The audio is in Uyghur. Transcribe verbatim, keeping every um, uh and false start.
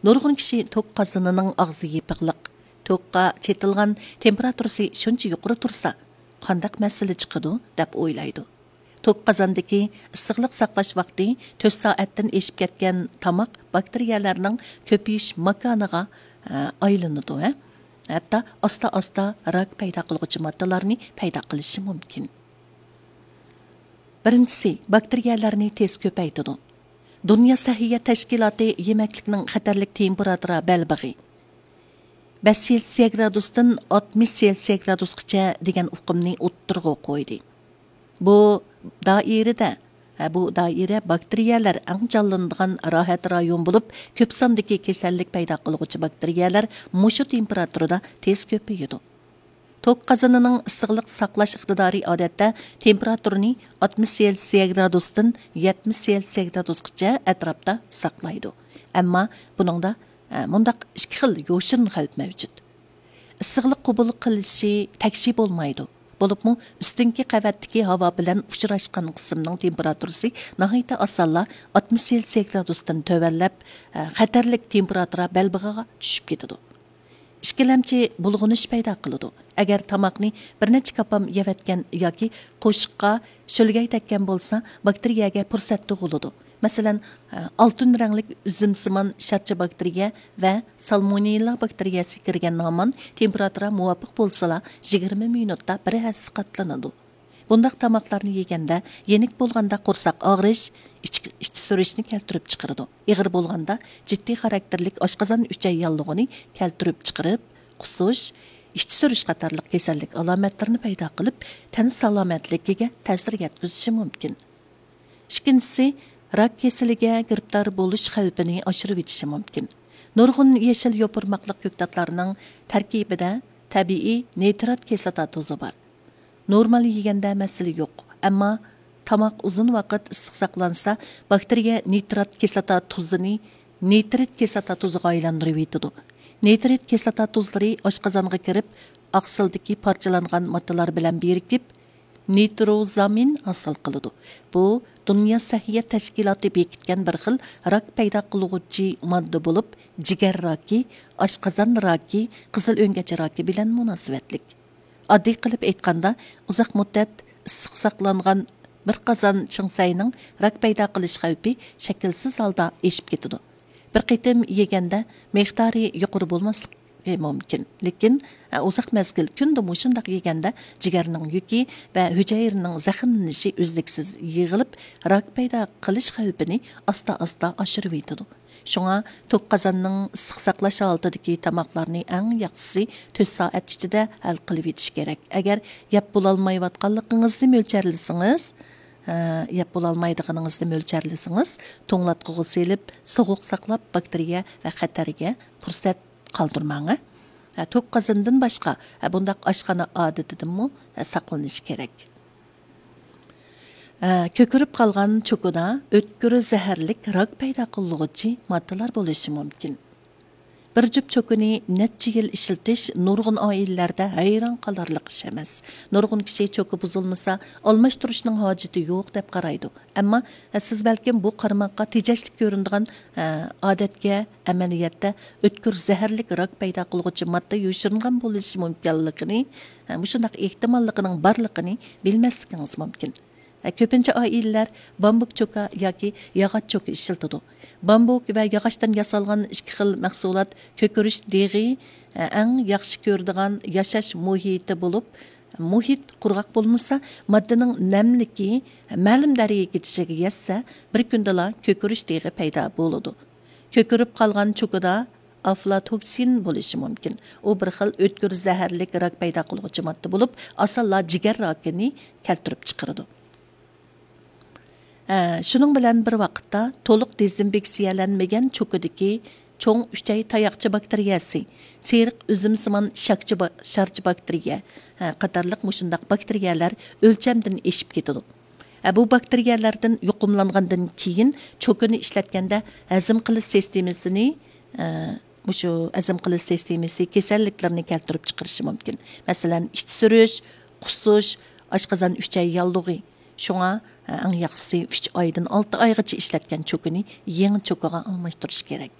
نۇرغۇن كىشى توك قازىنىنىڭ ئاغزى يېپىقلىق، توكقا چېتىلغان تېمپېراتۇرىسى شۇنچە يۇقىرى تۇرسا، قانداق مەسىلە چىقىدۇ دەپ ئويلايدۇ. توك قازاندىكى ئىسسىقلىق ساقلاش ۋاقتى تۆت سائەتتىن ئېشىپ كەتكەن تاماق باكتېرىيەلەرنىڭ كۆپىيىش ماكانىغا، ئە، ئايلىنىدۇ ۋە ھەتتا ئاستا-ئاستا راك پەيدا قىلغۇچى ماددىلارنى پەيدا قىلىشى مۇمكىن. بىرىنچىسى، باكتېرىيەلەرنى تېز كۆپەيتىدۇ. دۇنيا سەھىيە تەشكىلاتى يېمەكلىكنىڭ خەتەرلىك تېمپېراتۇرا بەلبېغى بەش سېلسىيە گرادۇستىن ئاتمىش سېلسىيە گرادۇسقىچە دېگەن ئۇقۇمنى ئوتتۇرىغا قويدى. بۇ دائىرىدە، ھە، بۇ دائىرە باكتېرىيەلەر ئەڭ جانلىنىدىغان راھەت رايون بولۇپ، كۆپ ساندىكى كېسەللىك پەيدا قىلغۇچى باكتېرىيەلەر مۇشۇ تېمپېراتۇرىدا تېز كۆپىيىدۇ. توك قازىنىنىڭ ئىسسىقلىق ساقلاش ئىقتىدارى ئادەتتە تېمپېراتۇرىنى ئاتمىش سېلسىيە گرادۇستىن يەتمىش سېلسىيە گرادۇسقىچە ئەتراپتا ساقلايدۇ. ئەمما بۇنىڭدا، ئە، مۇنداق ئىككى خىل يوشۇرۇن خەۋپ مەۋجۇت. ئىسسىقلىق قوبۇل قىلىشى تەكشى بولمايدۇ. بولۇپمۇ ئۈستۈنكى قەۋەتتىكى ھاۋا بىلەن ئۇچراشقان قىسىمنىڭ تېمپېراتۇرىسى ناھايىتى ئاسانلا ئاتمىش سېلسىيە گرادۇستىن تۆۋەنلەپ، ئە، خەتەرلىك تېمپېراتۇرا بەلبېغىغا چۈشۈپ كېتىدۇ. ئىككىلەمچى بۇلغىنىش پەيدا قىلىدۇ. ئەگەر تاماقنى بىر نەچچە كاپام يەۋەتكەن ياكى قوشۇققا شۆلگەي تەگكەن بولسا، باكتېرىيەگە پۇرسەت تۇغۇلىدۇ. مەسىلەن، ئالتۇن رەڭلىك ئۈزۈمسىمان شارچە باكتېرىيە ۋە سالمونېللا باكتېرىيەسى كىرگەن نامان تېمپېراتۇرا مۇۋاپىق بولسىلا، يىگىرمە مىنۇتتا بىر ھەسسە قاتلىنىدۇ. بۇنداق تاماقلارنى يېگەندە، يېنىك بولغاندا قورساق ئاغرىش، ئىچ، ئىچ سۈرۈشنى كەلتۈرۈپ چىقىرىدۇ. ئېغىر بولغاندا جىددىي خاراكتېرلىك ئاشقازان ئۈچەي ياللۇغىنى كەلتۈرۈپ چىقىرىپ، قۇسۇش، ئىچ سۈرۈش قاتارلىق كېسەللىك ئالامەتلىرىنى پەيدا قىلىپ، تەن سالامەتلىكىگە تەسىر يەتكۈزۈشى مۇمكىن. ئىككىنچىسى، راك كېسىلىگە گىرىپتار بولۇش خەۋپىنى ئاشۇرۇۋېتىشى مۇمكىن. نۇرغۇن يېشىل يوپۇرماقلىق كۆكتاتلارنىڭ تەركىبىدە تەبىئىي نىترات كىسلاتا تۇزى بار. نورمال يېگەندە مەسىلە يوق، ئەمما تاماق ئۇزۇن ۋاقىت ئىسسىق ساقلانسا، باكتېرىيە نىترات كىسلاتا تۇزىنى نىترىت كىسلاتا تۇزىغا ئايلاندۇرۇۋېتىدۇ. نىترىت كىسلاتا تۇزلىرى ئاشقازانغا كىرىپ، ئاقسىلدىكى پارچىلانغان ماددىلار بىلەن بىرىكىپ، نىتروزامىن ھاسىل قىلىدۇ. بۇ دۇنيا سەھىيە تەشكىلاتى بېكىتكەن بىر خىل راك پەيدا قىلغۇچى ماددا بولۇپ، جىگەر راكى، ئاشقازان راكى، قىزىل ئۆڭگەچ راكى بىلەن مۇناسىۋەتلىك. ئاددىي قىلىپ ئېيتقاندا، ئۇزاق مۇددەت ئىسسىق ساقلانغان بىر قازان چىڭسەينىڭ راك پەيدا قىلىش خەۋپى شەكىلسىز ھالدا ئېشىپ كېتىدۇ. بىر قېتىم يېگەندە مىقدارى يۇقىرى بولماسلىقى مۇمكىن، لېكىن، ئە، ئۇزاق مەزگىل كۈندە مۇشۇنداق يېگەندە جىگەرنىڭ يۈكى ۋە ھۈجەيرىنىڭ زەخىملىنىشى ئۈزلۈكسىز يىغىلىپ، راك پەيدا قىلىش خەۋپىنى ئاستا-ئاستا ئاشۇرۇۋېتىدۇ. شۇڭا توك قازاننىڭ ئىسسىق ساقلاش ھالىتىدىكى تاماقلارنى ئەڭ ياخشىسى تۆت سائەت ئىچىدە ھەل قىلىۋېتىش كېرەك. ئەگەر يەپ بولالمايۋاتقانلىقىڭىزنى مۆلچەرلىسىڭىز، ھە، يەپ بولالمايدىغىنىڭىزنى مۆلچەرلىسىڭىز، توڭلاتقۇغا سېلىپ، سوغۇق ساقلاپ، باكتېرىيە ۋە خەتەرگە پۇرسەت قالدۇرماڭ، ھە. ھە، توك قازىنىدىن باشقا، ھە، بۇنداق ئاشخانا ئادىتىدىنمۇ، ھە، ساقلىنىش كېرەك. ھە، كۆكىرىپ قالغان چوكىدا ئۆتكۈر زەھەرلىك راك پەيدا قىلغۇچى ماددىلار بولۇشى مۇمكىن. بىر جۈپ چوكىنى نەچچە يىل ئىشلىتىش نۇرغۇن ئائىلىلەردە ھەيران قالارلىق ئىش ئەمەس. نۇرغۇن كىشى چوكا بۇزۇلمىسا، ئالماشتۇرۇشنىڭ ھاجىتى يوق دەپ قارايدۇ. ئەمما، ھە، سىز بەلكىم بۇ قارىماققا تېجەشلىك كۆرۈنىدىغان، ھە، ئادەتكە ئەمەلىيەتتە ئۆتكۈر زەھەرلىك راك پەيدا قىلغۇچى ماددا يوشۇرۇنغان بولۇشى مۇمكىنلىكىنى، ھە، مۇشۇنداق ئېھتىماللىقىنىڭ بارلىقىنى بىلمەسلىكىڭىز مۇمكىن. ھە، كۆپىنچە ئائىلىلەر بامبۇك چوكا ياكى ياغاچ چوكا ئىشلىتىدۇ. بامبۇك ۋە ياغاچتىن ياسالغان ئىككى خىل مەھسۇلات كۆكىرىش دېغى، ھە، ئەڭ ياخشى كۆرىدىغان ياشاش مۇھىتى بولۇپ، مۇھىت قۇرغاق بولمىسا، ماددىنىڭ نەملىكى مەلۇم دەرىجىگە يەتسە، بىر كۈندىلا كۆكىرىش دېغى پەيدا بولىدۇ. كۆكىرىپ قالغان چوكىدا ئافلاتوكسىن بولۇشى مۇمكىن. ئۇ بىر خىل ئۆتكۈر زەھەرلىك راك پەيدا قىلغۇچى ماددا بولۇپ، ئاسانلا جىگەر راكىنى كەلتۈرۈپ چىقىرىدۇ. ھە، شۇنىڭ بىلەن بىر ۋاقىتتا، تولۇق دېزىنفېكسىيەلەنمىگەن چوكىدىكى چوڭ ئۈچەي تاياقچە باكتېرىيەسى، سېرىق ئۈزۈمسىمان شاكچە با-، شارچە باكتېرىيە، ھە، قاتارلىق مۇشۇنداق باكتېرىيەلەر ئۆلچەمدىن ئېشىپ كېتىدۇ. ھە، بۇ باكتېرىيەلەردىن يۇقۇملانغاندىن كېيىن، چوكىنى ئىشلەتكەندە ھەزىم قىلىش سىستېمىسىنى، ھە، مۇشۇ ھەزىم قىلىش سىستېمىسى كېسەللىكلىرىنى كەلتۈرۈپ چىقىرىشى مۇمكىن. مەسىلەن، ئىچ سۈرۈش، قۇسۇش، ئاشقازان ئۈچەي ياللۇغى. شۇڭا، ھە، ئەڭ ياخشىسى ئۈچ ئايدىن ئالتە ئايغىچە ئىشلەتكەن چوكىنى يېڭى چوكىغا ئالماشتۇرۇش كېرەك.